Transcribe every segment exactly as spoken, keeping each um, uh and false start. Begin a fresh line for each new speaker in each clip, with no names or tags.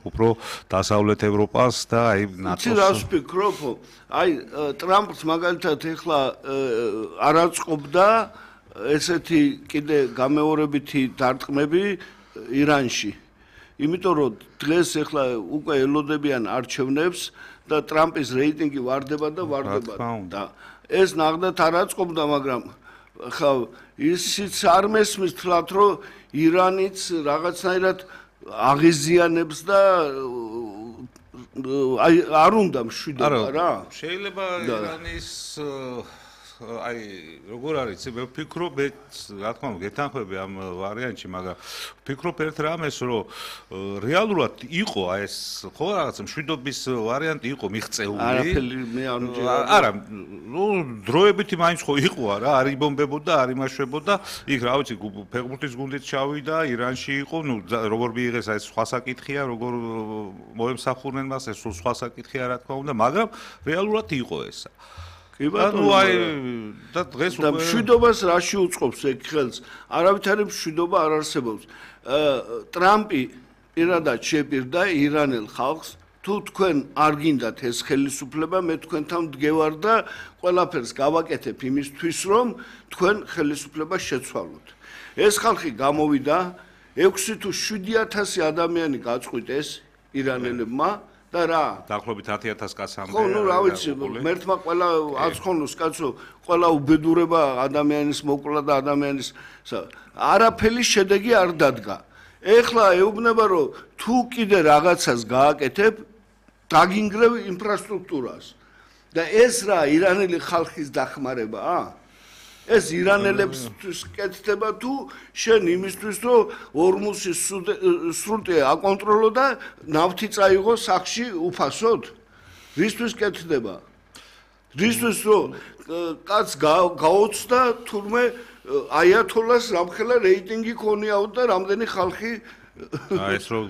უფრო დასავლეთ ევროპას და აი ნატოს.
იცი რას ვფიქრობ? აი ტრამპს მაგალითად ეხლა არ აწყობდა ესეთი კიდე გამეორებითი დარტყმები ირანში. იმიტომ რომ დღეს ეხლა უკვე ელოდებიან არჩევნებს და ტრამპის რეიტინგი ვარდება და ვარდება და ეს ნახდათ არ აწყობდა, მაგრამ ხა ისიც არ მესმის თლათ რომ ირანიც რაღაცნაირად აღიზიანებს და აი არ უნდა მშვიდობა რა.
შეიძლება ირანის აი როგორ არის მე ვფიქრობ მე რა თქმა უნდა გეთანხმები ამ ვარიანტში მაგრამ ვფიქრობ ერთ რამეს რომ რეალურად იყო აი ეს ხო რაღაც მშვიდობის ვარიანტი იყო მიღწეული
არაფერი მე არ მჯერა
არა ნუ დროებითი მაინც ხო იყო რა არ იბომბებოდა არ იმაშვებოდა იქ რა ვიცი ფეხბურთის გუნდიც ჩავიდა ირანში იყო ნუ როგორ მიიღეს აი სხვა საკითხია როგორ მოემსახურნენ მას ეს სხვა საკითხია რა თქმა უნდა მაგრამ რეალურად იყო ესა
კი ბატონო
აი და დღეს
და მშვიდობას რაში უწყობს ეგ ხელს არავითარი მშვიდობა არ არსებობს ტრამპი პირადად შეპირდა ირანელ ხალხს თუ თქვენ არ გინდათ ეს ხელისუფლება მე თქვენთან მდგევარ და ყველაფერს გავაკეთებ იმისთვის რომ თქვენ ხელისუფლება შეცვალოთ ეს ხალხი გამოვიდა ექვსი თუ შვიდი ათასი ადამიანი გაწყვიტეს ირანელებმა და რა
დაახლოებით ათი ათას კაცამდე
ხო ნუ რა ვიცი მერთმა ყველა აცხონოს კაცო ყველა უბედურება ადამიანის მოკლა და ადამიანის არაფერი შედეგი არ დადგა ეხლა ეუბნება რომ თუ კიდე რაღაცას გააკეთებ დაგინგრევ ინფრასტრუქტურას და ეს რა ირანელი ხალხის დახმარებაა ეს ირანელებისთვის კეთდება თუ შენ იმისთვის რომ ორმუსის სრუტე აკონტროლო და ნავთი წაიღო სახში უფასოდ რისთვის კეთდება რისთვის რომ კაც გაოცდა თურმე აიათოლას რამხელა რეიტინგი ქონიაო და რამდენი ხალხი
აი ეს რო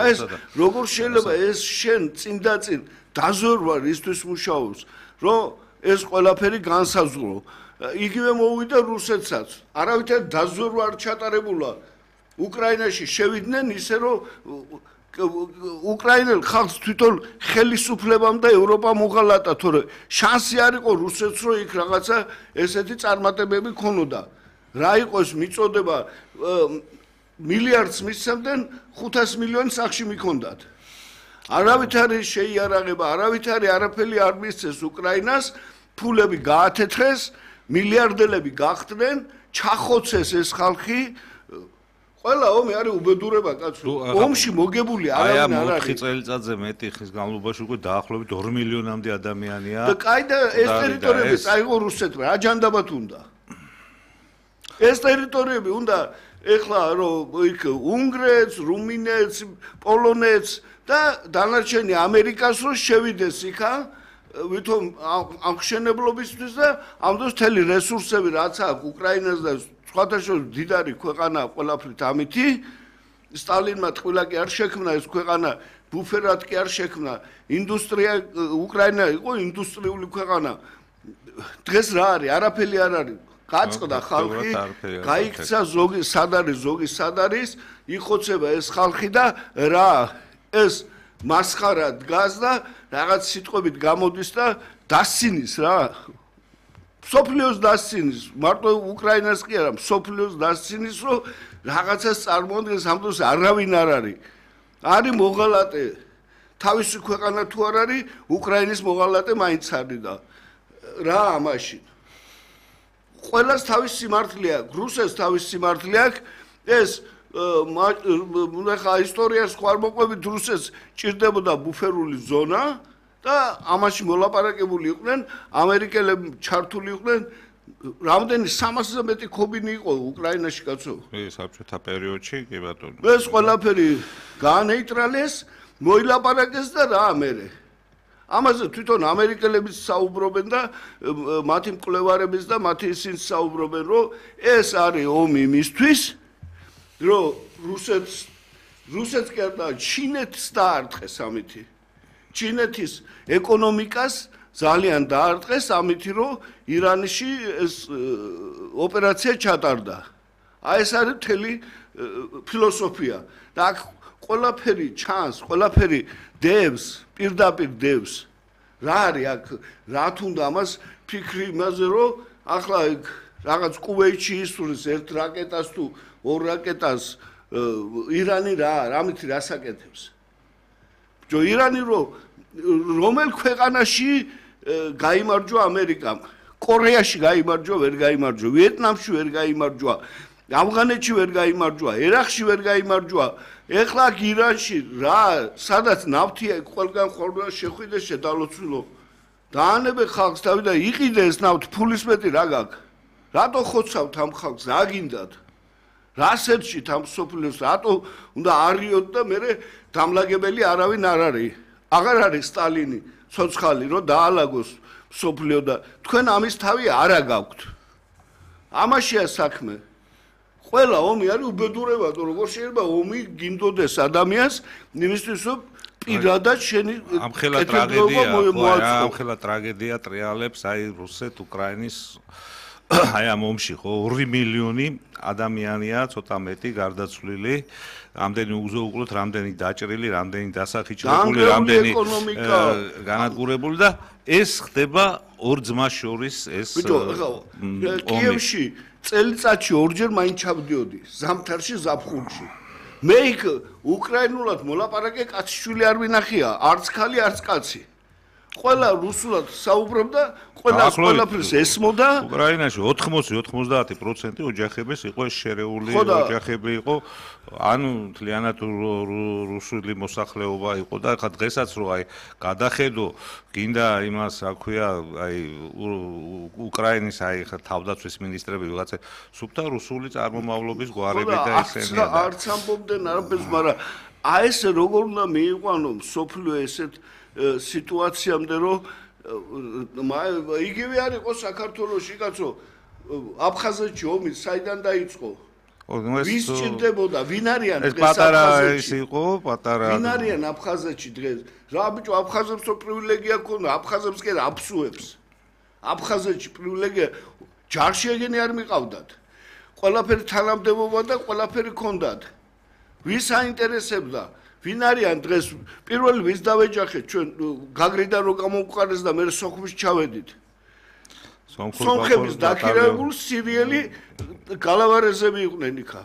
ეს როგორ შეიძლება ეს შენ წინ და წინ დაზორვა რისთვის მუშაობს რომ ეს ყველაფერი განსაზღვრო იგივე მოვიდა რუსეთსაც არავითარ დაზორვა არ ჩატარებულა უკრაინაში შევიდნენ ისე რომ უკრაინელ ხალხს თვითონ ხელისუფლებამ და ევროპამ უღალატა თორე შანსი არ იყო რუსეთს რომ იქ რაღაცა ესეთი წარმატებები ქონოდა რა იყოს მიწოდება მილიარდს მისცემდნენ ხუთას მილიონი სახში მიქონდათ არავითარი შეიარაღება არავითარი არაფერი არ მისცეს უკრაინას ფულები გაათეთრეს მილიარდელები გახდნენ ჩახოცეს ეს ხალხი ყველა ომი არის უბედურება კაცო ომში მოგებული არავინ არ არის
აი ამ წელიწადზე მეტი ხის განმავლობაში უკვე დაახლოებით ორი მილიონამდე ადამიანია
და კაი და ეს ტერიტორიები წაიღო რუსეთმა რა ჯანდაბათ უნდა ეს ტერიტორიები უნდა ეხლა რომ იქ უნგრეთს რუმინეთს პოლონეთს და დანარჩენი ამერიკას რო შევიდეს იქა ვითომ აღშენებლობისთვის და ამ დროს თელი რესურსები რაც აქვს უკრაინას და სხვათა შორის დიდარი ქვეყანა ყველაფრით ამითი სტალინმა ტყვილა კი არ შექმნა ეს ქვეყანა ბუფერად კი არ შექმნა ინდუსტრია უკრაინა იყო ინდუსტრიული ქვეყანა დღეს რა არის არაფერი არ არის გაწყდა ხალხი გაიქცა ზოგი სად არის ზოგი სად არის იხოცება ეს ხალხი და რა ეს მასხარა დგას და რაღაც სიტყვებით გამოდის და დასცინის რა სოფლიოს დასცინის მარტო უკრაინას კი არა სოფლიოს დასცინის რომ რაღაცას წარმოადგენს ამ დროს არავინ არ არის არის მოღალატე თავისი ქვეყანა თუ არ არის უკრაინის მოღალატე მაინც არის და რა ამაში ყველას თავის სიმართლე აქვს რუსეთს თავის სიმართლე აქვს ეს ხა ისტორიას ხوار მოყვებით რუსეთს ჭირდებოდა ბუფერული ზონა და ამაში მოლაპარაკებული იყვნენ ამერიკელები ჩართული იყვნენ რამდენი სამასზე მეტი ქობინი იყო უკრაინაში კაცო
კი საბჭოთა პერიოდში კი ბატონო
ეს ყველაფერი გაანეიტრალეს მოილაპარაკეს და რა მერე ამაზე თვითონ ამერიკელებიც საუბრობენ და მათი მკვლევარებიც და მათი ისინი საუბრობენ რომ ეს არის ომი იმისთვის რომ რუსეთს რუსეთს კი არა ჩინეთს დაარტყეს ამითი ჩინეთის ეკონომიკას ძალიან დაარტყეს ამითი რომ ირანში ეს ოპერაცია ჩატარდა აი ეს არის მთელი ფილოსოფია და ყველაფერი ჩანს, ყველაფერი დევს, პირდაპირ დევს. რა არის აქ, რა თუნდა ამას ფიქრი იმაზე, რომ ახლა იქ რაღაც კუვეიტში ისურვის ერთ რაკეტას თუ ორ რაკეტას ირანი რა, რამითი რასაკეთებს. ბიჭო, ირანი რომელ ქვეყანაში გაიმარჯვა ამერიკამ, კორეაში გაიმარჯვა, ვერ გაიმარჯვა, ვიეტნამში ვერ გაიმარჯვა, ავღანეთში ვერ გაიმარჯვა, ერაყში ვერ გაიმარჯვა. ეხლა აქ ირანში რა, სადაც ნავთია, ყველგან ხოლმე შეხვიდეს შედალოცულო. დაანებე ხალხს თავი და იყიდე ეს ნავთი, ფულის მეტი რა გაქვს. რატო ხოცავთ ამ ხალხს, რა გინდათ? რასეთშით ამ სოფლიოს, რატო უნდა არიოთ და მე დამლაგებელი არავინ არ არის. აღარ არის სტალინი, ცოცხალი, რომ დაალაგოს სოფლიო და თქვენ ამის თავი არა გაქვთ. ამაშია საქმე. ყველა ომი არის უბედურება, როგორ შეიძლება ომი გინდოდეს ადამიანს, იმისთვის რომ პირადად შენი
ამხელა ტრაგედია, ამ ხელა ტრაგედია ტრიალებს აი რუსეთ-უკრაინის აი ამ ომში ხო ორი მილიონი ადამიანია, ცოტა მეტი გარდაცვლილი, რამდენი უზოუკლოთ, რამდენი დაჭრილი, რამდენი დასახიჩრებული, რამდენი განადგურებული და ეს ხდება ორ ძმას შორის ეს
კიევში წელიწადში ორჯერ მაინც ჩავდიოდი, ზამთარში, ზაფხულში. მე იქ უკრაინულად მოლაპარაკე კაცშვილი არ ვინახია, არც ხალი, არც კაცი. ყველა რუსულად საუბრობდა, ყველა ყველაფერს ესმოდა.
უკრაინაში ოთხმოცი ოცდაათი პროცენტი ოჯახების იყო შერეული ოჯახები იყო, ანუ მთლიანად რუსული მოსახლეობა იყო და ხა დღესაც რო აი გადახედო, გინდა იმას რა ქვია, აი უკრაინის აი ხა თავდაცვის მინისტრები ვიღაცა სუფთა რუსული წარმომავლობის გვარები და ესენია.
არც ამბობდნენ არაფერს, მაგრამ აი ეს როგორ უნდა მიიყვანო სოფლიო ესეთ სიტუაციამდე რომ იგივე არ იყო საქართველოში კაცო აფხაზეთში ომი საიდან დაიწყო ვის ჭირდებოდა ვინ არიან
ეს პატარა ის იყო პატარა
ვინ არიან აფხაზეთში დღეს რა ბიჭო აფხაზებს პრივილეგია ქონდა აფხაზებს კი აფსუებს აფხაზეთში პრივილეგია ჯარში ეგენი არ მიყავდათ ყველაფერი თანამდებობა და ყველაფერი ქონდათ ვის აინტერესებდა ვინ არიან დღეს პირველი ვის დავეჯახეთ ჩვენ გაგრიდა რო გამოვყარეს და მე სოხუმში ჩავედით სომხების დაქირავებული სირიელი გალავარეზები იყვნენ იქა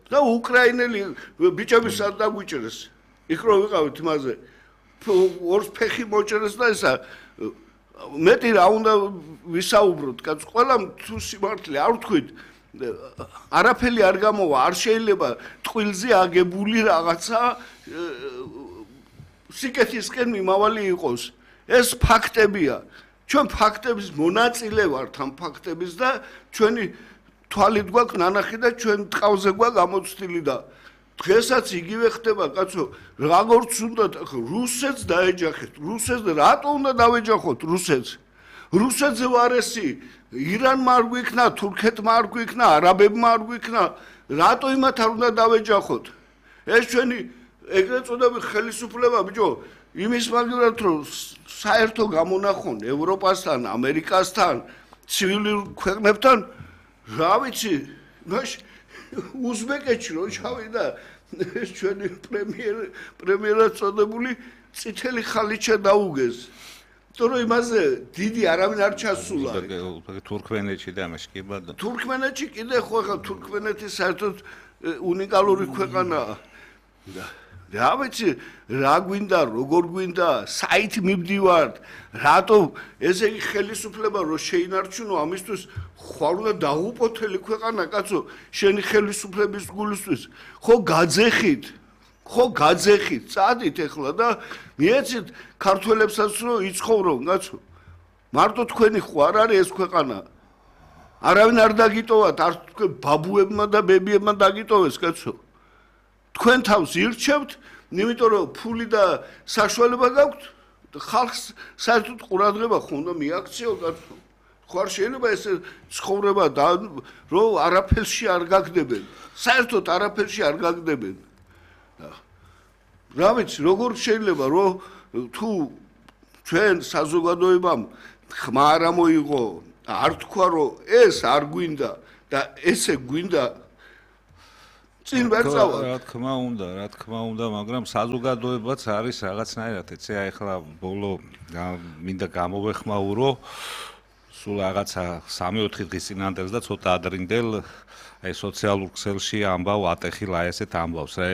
და უკრაინელი ბიჭები სად დაგვიჭერეს იქ რო ვიყავით იმაზე ორს ფეხი მოჭერეს და ესა მეტი რა უნდა ვისაუბროთ კაც ყველა თუ სიმართლე არ ვთქვით არაფერი არ გამოვა, არ შეიძლება ტყილზე აგებული რაღაცა სიკეთისკენ მიმავალი იყოს. ეს ფაქტებია. ჩვენ ფაქტების მონაწილე ვართ ამ ფაქტების და ჩვენი თვალით გვაქვს ნანახი და ჩვენ ტყავზე გვაქვს გამოცდილი და დღესაც იგივე ხდება, კაცო, როგორც უნდა რუსეთს დაეჯახეთ. რუსეთს რატო უნდა დავეჯახოთ რუსეთს? რუსეთზე ვარესი ირანმა არ გვიქნა, თურქეთმა არ გვიქნა, არაბებმა არ გვიქნა, რატო იმათ არ უნდა დავეჯახოთ? ეს ჩვენი ეგრეთ წოდებული ხელისუფლება, ბიჭო, იმის მაგალითად რომ საერთო გამონახონ ევროპასთან, ამერიკასთან, ცივილურ ქვეყნებთან, რა ვიცი, მაშ უზბეკეთში რო ჩავიდა ეს ჩვენი პრემიერ პრემიერად წოდებული წითელი ხალიჩა დაუგეს. თორე იმაზე დიდი არავინ არ ჩასულა.
თურქმენეთში და ამაში კი ბადა.
თურქმენეთში კიდე ხო ხა თურქმენეთი საერთოდ უნიკალური ქვეყანაა. რა ვიცი, რა გვინდა, როგორ გვინდა, საით მივდივართ, რატო ესე იგი ხელისუფლება რო შეინარჩუნო ამისთვის ხარ უნდა დაუპოთელი ქვეყანა, კაცო, შენი ხელისუფლების გულისთვის, ხო გაძეხით. ხო გაძეხით, წადით ეხლა და მიეცით ქართველებსაც რომ იცხოვრონ, კაცო. მარტო თქვენი ხო არ არის ეს ქვეყანა. არავინ არ დაგიტოვათ, არ თქვენ ბაბუებმა და ბებიებმა დაგიტოვეს, კაცო. თქვენ თავს ირჩევთ, იმიტომ რომ ფული და საშუალება გაქვთ, ხალხს საერთოდ ყურადღება ხო უნდა მიაქციო, კაცო. ხო არ შეიძლება ეს ცხოვრება და რომ არაფერში არ გაგდებენ. საერთოდ არაფერში არ გაგდებენ. რა ვიცი, როგორ შეიძლება რომ თუ ჩვენ საზოგადოებამ ხმა არ მოიღო, არ თქვა რომ ეს არ გვინდა და ესე გვინდა წინ ვერ წავალ.
რა თქმა უნდა, რა თქმა უნდა, მაგრამ საზოგადოებაც არის რაღაცნაირად, ეცე ახლა ბოლო მინდა გამოვეხმაურო სულ რაღაცა სამი-ოთხი დღის წინანდელს და ცოტა ადრინდელ აი სოციალურ ქსელში ამბავ ატეხილ აი ესეთ ამბავს რა